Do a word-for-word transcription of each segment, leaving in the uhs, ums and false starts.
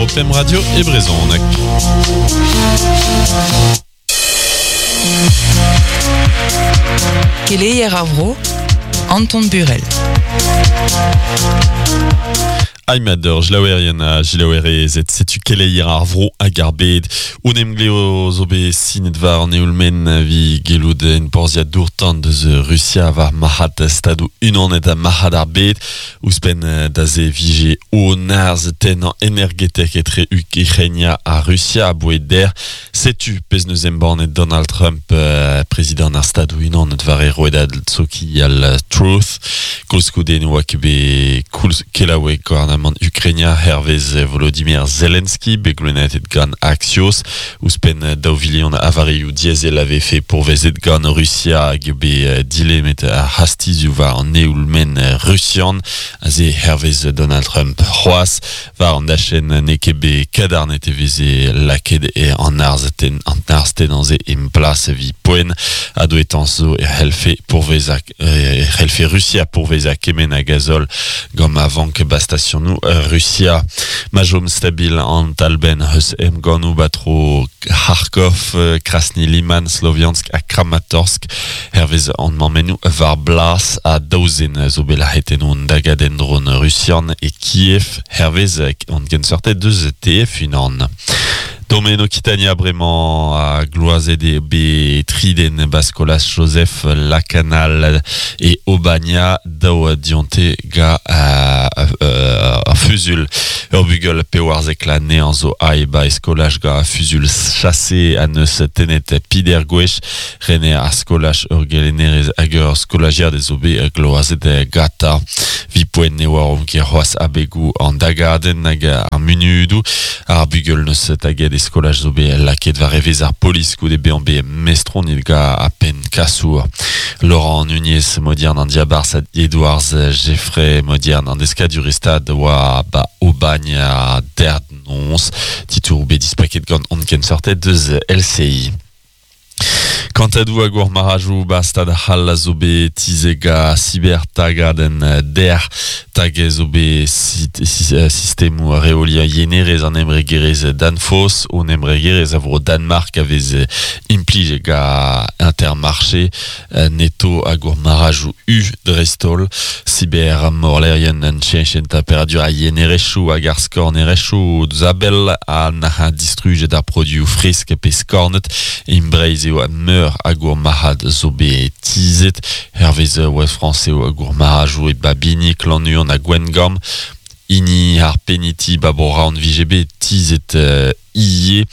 War o pem radio e brezhoneg. Keleier ar vro, Anton Burel. Aimador, jlaouerien a jilaouerezet, setu keleier ar vro hag ar bed. Un emgleo zo bet sinet war an eoulmen vi gelout en porzhiad dourtan deus Russia war marc'had stadou unanet ha marc'had ar bed. Ouzhpenn da ze vije o narz tennañ energetek etre Ukrainia ha Russia a boued der. Setu pezh neus embannet Donald Trump, euh, prezident ar stadou unanet war e roedad sokial Truth. Koulskoude ne oa ket bet koulz kelaoueg gouarnamant Ukrainia hervez Volodymyr Zelensky bet goulennet gant Axios ouzhpenn daou vilion a varioù diesel a vefe pourvezet gant Russia hag eo bet dilemet ar c'hastizioù war an eoulmen rusian aze hervez Donald Trump c'hoazh war an dachenn n'eo ket bet kadarnet e veze lakaet e an arz ten an arz tennañ-se en plas evit poent ha douetañs zo e c'hellfe pourvezañ e c'hellfe Russia pourvezañ kement a gazol gant ma vank ba stationoù Russia. Ma chom stabil an talbenn eus emgannoù batro Kharkov, Krasny Liman, Sloviansk ha Kramatorsk hervez an mammennoù war blas ha daou zen zo bet lac'het en hon dagadenn dron rusian e Kiev hervez an kenseurted deus T F unan. Domen Occitania bremañ a gloazet eo bet triden Baskolas Joseph Lacanal e Aubagne daou dionte ga euh, fuzul. Ur bugel pewarzek la nean zo ae ba eskolaj ga fuzul chassé a neus tenet pider gwech rene ar skolaj ur gelennerez hag ur skolajiad ez zo bet gloazet gata. Vi poent ne oar omp ket c'hoazh abegoù an dagadenn hag ar munudoù. Ar bugel neus taget e skolaj zo bet lakaet war evezh ar polis goude bezañ bet mestronit ga a penn kasour. Laurent Nunez modiern an diabarzh Edouards Jeffrey modiern an deskaduristad oa ba Aubagne a dernons titour bet dispaket gant on kensortet deus L C I. Kantadou hag ur marajou ba stad c'hall a zo bet tizega cybertagadenn der tag zo bet sistemoù reoliañ yenerez an embregerezh Danfoss on embregerezh a vro Danmark a vez implij ga Intermarché Netto hag ur marajou U dreist-holl cyber morlerien an cheñchet temperadur a yenerezhioù hag ar skornerezhioù zabel a na distrujet ar produioù fresk pe skornet imbreiz eo meur hag ur marc'had zo bet tizet hervez Ouest France eo hag ur marajou e Babini, Klanuon ha Gwengamp hini ar peniti babora an vije bet tizet euh, ie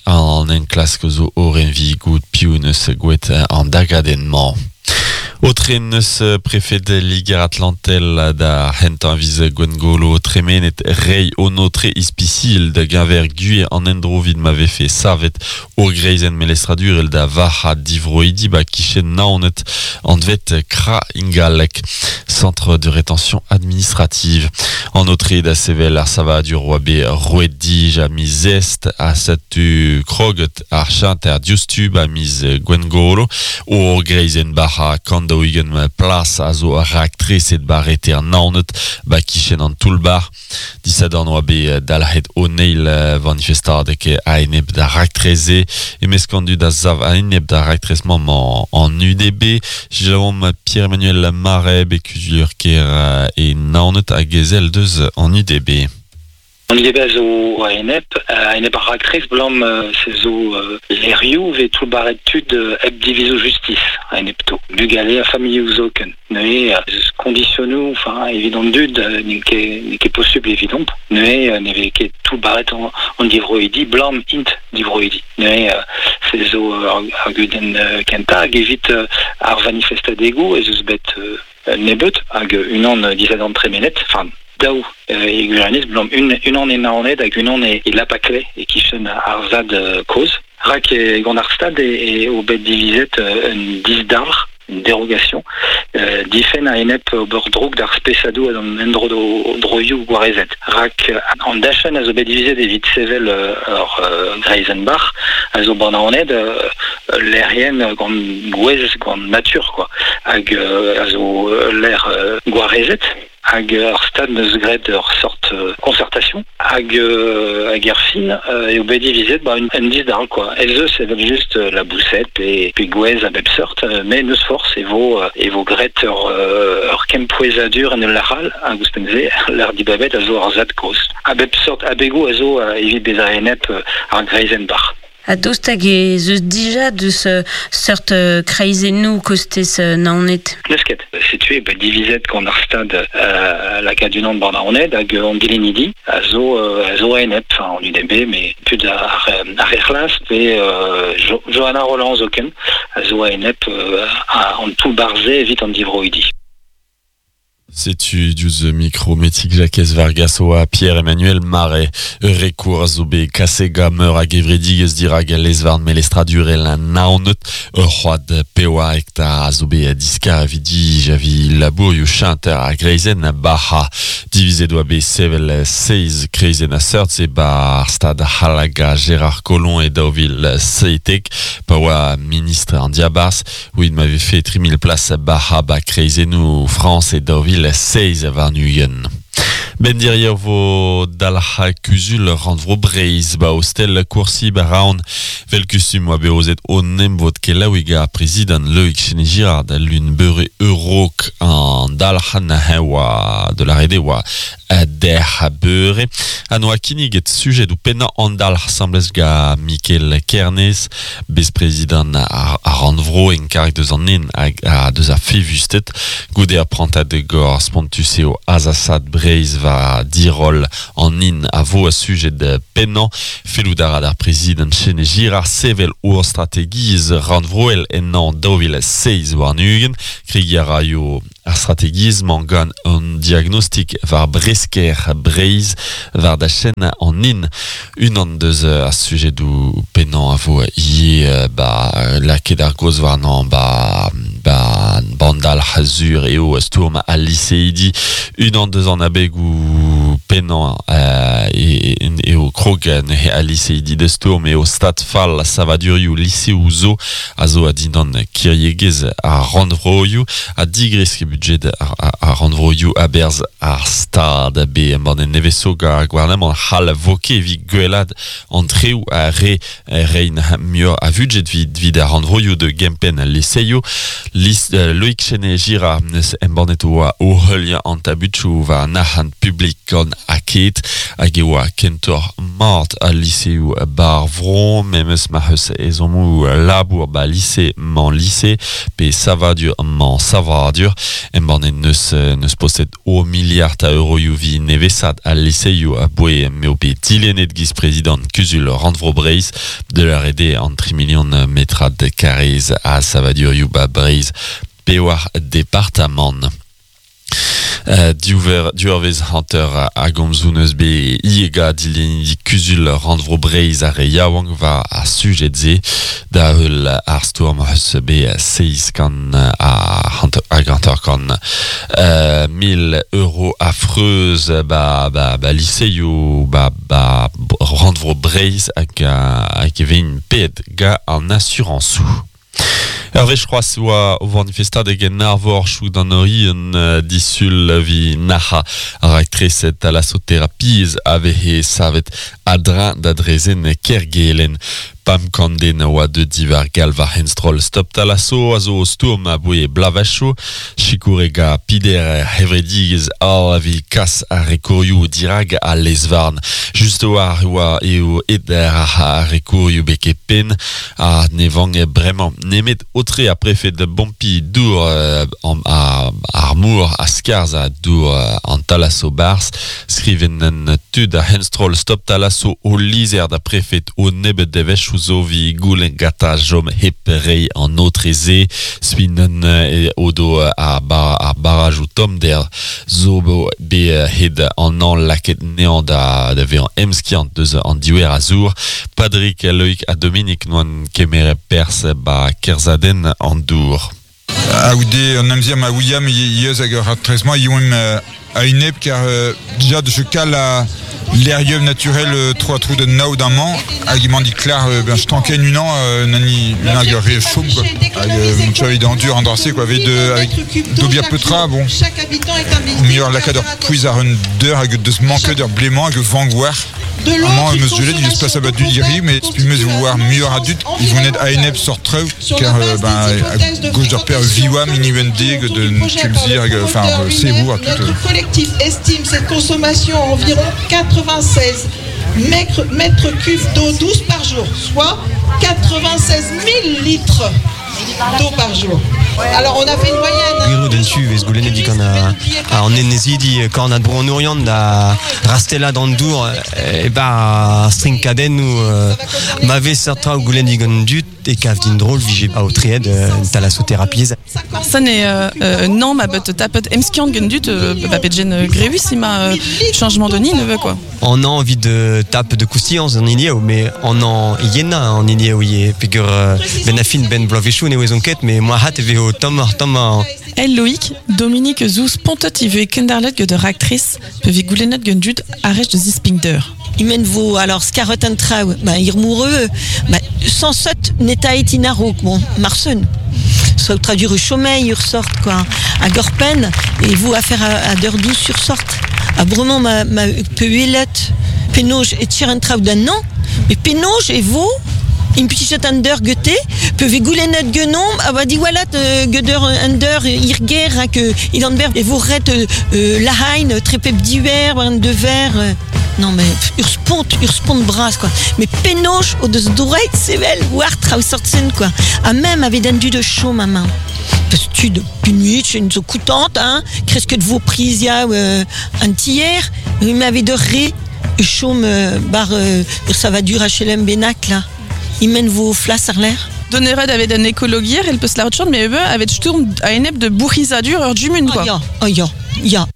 an enklask zo oren vi gout piv neus gouet an dagadenn-mañ. Otre neus prefed Liger Atlantel da hentañ viz Gwengolo tremenet rei onotre ispisil da geñver gwir an endro vid ma vefe savet ur greizenn melestradurel da varc'had divroidi ba kichen naonet anvet Kra Ingalek, centre de rétention administrative. En otre da sevel ar savadur oa bet roet dij a miz est a satu kroget ar chanter diouzhtu ba miz Gwengolo ur greizenn barc'ha kant daou-ugent plas a zo raktreset barreter naonet ba kichen an toulbar. Disadorn oa bet dalc'het o neil manifestadeg a-enep da raktreze e meskandu da zav a-enep da raktrez-mañ an U D B. Jérôme Pierre-Emmanuel Marais bet kuzulur ker e naonet hag ezel deus an U D B. An U D B a zo a-enep, a-enep ar raktrez blam se zo lerioù ve toullbaret tud hep divizo justice a-enep to. Bugale a familhoù zoken. Neuze eus kondisionoù, enfin, evit an dud, n'eo ket, n'eo ket posubl evidomp. Neuze ne vez ket toullbaret an, an divroidi, blam int divroidi. Neuze se zo ar gudenn kentañ hag evit ar manifestadegoù ez eus bet nebeut hag unan disadorn tremenet, enfin, daou e gwirionez blam un, unan e Naoned hag unan e, e Lapakle e kichen ar zad kozh. Rak e gant ar stad e, e o bet divizet un disdalc'h, une dérogation, euh, difen a-enep ober droug d'ar spesadoù hag an endro droioù gwarezet. Rak an dachenn a zo bet divizet evit sevel ur euh, greizenn-bac'h a zo ban Naoned euh, lerien gant gwez, gant natur, quoi. Hag euh, a zo l'air euh, gwarezet. Hag ar stad neus graet ur sort euh, concertation hag euh, hag ar fin euh, eo bet divizet ba un, un dis d'arl quoi. Ez eus evel just euh, la boussette pe, pe gwez a bep sort, euh, mais neus force e vo, euh, e vo graet ur, euh, ur kempouezadur en ul laral hag ouzhpenn-se l'ar dibabet a zo ar zad koz. A bep sort abego a zo euh, evit bezañ enep euh, ar greizenn bar. A daoust hag ez eus dija deus euh, seurt euh, kreizennoù kostez euh, Naoned. N'eus ket. Setu eo bet divizet gant ar stad euh, lakaat unan ban Naoned hag an dilennidi a zo, euh, a zo enep, enfin an U D B, mais tud ar, ar c'hlas pe euh, jo, Johanna Roland zoken a zo enep euh, a, an tout barze evit an divroidi. Setu diouzh micro metik Jacques Vargas oa Pierre-Emmanuel Marais recours a zo bet kasega meur hag evredigez dirag lezvarn melestradurel Naoned ur c'hoad pewa hektar a zo bet diskar evit dij avi labourioù chanter a greizenn a baha divizet oa bet sevel seiz kreizenn a seurt se ba ar stad Halaga Gérard Collomb e daou vil seitek pa oa ministre an diabarzh ouid ma vefe tri mil plas baha ba kreizennoù France e daou vil seiz war-ugent. Ben dirier vo dalc'ha kuzul rannvro Breizh ba hostel Courcy ba Raon vel kustum oa bet o nemvod kelaouig ar prezident Loïc Chene-Girard lun beure eurok an dalc'ha na oa de la rede oa der beure an oa kinniget sujet ou pennañ an dalc'h semblez ga Mikel Kernez bez-prezident ar, ar rannvro en karg deus an nen hag a deus ar fevusted goude ar prantad gor spontus eo azasad Breizh va dirol an in a vo a sujet de pennañ fellout a ra d'ar prezident Chene-Girard sevel ur strategiezh rannvroel ennañ daou vil seiz warn-ugent kregi a raio ar strategiezh-mañ gant an diagnostik war bresker Breizh war da chen an in unan deus ar sujedoù pennañ a vo ivez ba lakaet ar gaoz warnañ ba ba bandal c'hazur eo stourm al liseidi unan deus an abegoù pennañ euh, eo krog neuze al liseidi da stourm eo stad fall savadurioù liseoù zo a zo a dindan kiriegezh ar rannvroioù a digresk budget ar, ar rannvroioù aberzh ar stad be embann en nevezo gant ar gouarnamant c'hall vo ket evit gwellad an treoù a re rein muioc'h a vudjet vid, vid ar rannvroioù de gempenn al liseioù Lis, euh, Loïc Chene-Girard neus embannet oa o heuliañ an tabutoù war an arc'hant publik gant aked hag e oa kentoc'h mat al liseoù bar vro memes ma c'heus ezhommoù labour ba lise mañ lise pe savadur mañ savadur embannet neus, neus postet o miliard a euroioù vi nevesat al liseioù a boe m'eo bet dilennet giz prezident kuzul rannvro Breizh de la rede an tri million metrad karrez a savadurioù ba Breizh pewar departamant. Euh, diouver, diouervez hanter a gomzoù neus bet iega dilennidi kuzul rannvro Breizh ar re yaouank war ar sujet se da heul ar stourm eus bet seiz kant a hanter, hag hanter kant euh, mil euro a freuz ba, ba, ba liseioù ba, ba rannvro Breizh hag, hag e vein ped ga an asurañsoù. Hervé c'hoazh oa o vanifestadeg en arvor chou d'an orien uh, disul vi naha ar aktreset thalassothérapiez ave he savet adrin da drezen kergelen. Pam kanden oa de divar galv ar henstrol stop thalasso a zo stourm a boe blavacho chikourega pider hevredigez al avi kas ar rekourioù dirag a lezvarn. Just oa oa eo eder ar rekourioù beke pen a ne vang bremañ nemet otre a prefet de bompi dour euh, an, a, ar mour a skarz a dour an thalasso bars skriven en tud a henstrol stop thalasso o lizer da prefet o nebet devech zo vi goulen gata jom hep rei an otreze spinen e odo ar bar ar baraj ou tom der zo be hed an an laket nean da da ve an emskiant deus an diouer a zour Padrik Loïc a Dominique noan kemere pers ba kerzaden an dour. Aoude an amzer ma William yeus hag ur trezmañ yoem a inep car euh, déjà de ce cas la l'airium naturel euh, trois trous de nao d'un man hag emañ di klar euh, ben stanken unan euh, nani unan hag ur re chom quoi hag euh, mon tchao id an drase quoi avec de avec dobia petra bon meilleur lakad ur pouiz ar un deur hag deus manket ur blément hag vangouar Amañ eus julet il eus pas abat du diri mais spi meus war muioc'h a dud ils vont net a-enep sort treu car euh, ben a gauche d'ur per viwa mini deg de tulzir hag enfin euh, sebour tout Notre collectif estime cette consommation à environ quatre-vingt-seize mètres, mètres cubes d'eau douce par jour, soit quatre-vingt-seize mille litres d'eau par jour. Alors on a fait une moyenne. Gwiro den su vez goulennet digant a, a an enezidi korn ad bro an Oriant da rastella d'an dour e ba strinkaden ou euh, ma vez seurt traoù goulennet digant dut e kav din drôle vije a aotreet euh, thalassothérapie. Ça n'est euh, euh, non ma bet tapet emskiant gant dut euh, ba petjen euh, grewus ima euh, changement de nid ne veut quoi. On a envie de tape de coustillanz an inieo, mais on en yena an inieo ye pegur euh, ben afin ben bloavezhioù ne ouezon ket, mais moi hat e vezo tamm ar tamm ar El Loïc, Dominique Zouz pontet ive kendarlet gant ur actrice pe vez goulennet gant dud arrech de zispigner. Imen vo alors skarot an traoù, ba ir moureux, ba sans sot netaet in a-raok, bon, marseun. Soit traduire chômage ur sort quoi. A gorpen e vo affaire a, a d'heure douce sur sort. A bremañ ma, ma pe uelet penoj e tir an traoù d'un an, mais penoj e vo implijet an deur gete, pe ve goulennet genom, a ba diwalat euh, gedeur an deur irger hag euh, il an ber e vo ret euh, euh, lahain trepep diwer war an de ver euh, non mais ur spont, ur spont bras quoi. Mais penoj o deus droit sevel war traoù sortsen quoi. A même avait dan du de chaud ma main. Parce que tu de punuit, une zo coutante hein, kreske de vo prizia euh, un tiers, il m'avait de ré chaume euh, bar euh, ça va dur H L M Benac là. Il mène vos flas ar l'air. Donnered avait un écologier, elle peut se la retchant, mais eux avait sturm a enep de bourrisadur ur jumun quoi. Oh ya, oh ya, ya.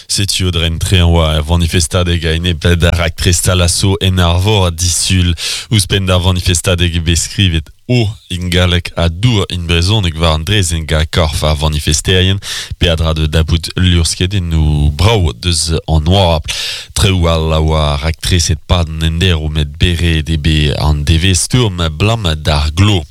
Setu Audren tre an oa vanifestadeg a enep d'ar raktres talasso en arvor disul ouzhpenn d'ar vanifestadeg bet skrivet o ingalek a dour in brezhoneg war an drezenn ga korf ar vanifesterien peadra de dabout lurskedenn nou brav deus an oabl. Treoù all a oa raktres et pad an enderv met bere debe an devez stourm blam d'ar glo.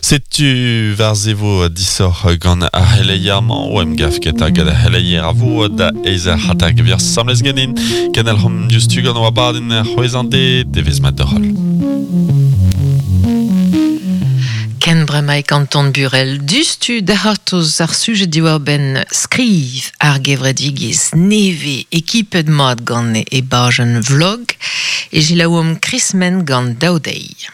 Setu war zevo disoc'h gant ar c'heleier-mañ o em gav ket hag ar c'heleier a vo da eizh ar c'hatag vir samlez ganin. Kenel hom diouzhtu gant oa badenn c'hwezh an de, devez mat d'hol. Ken bremaik Anton Burel dustu dac'hortoz ar sujet diwar ben skriv ar gevredigez neve ekipet mat gant e bajenn vlog e jilaouomp Chris Men gant daou deiz.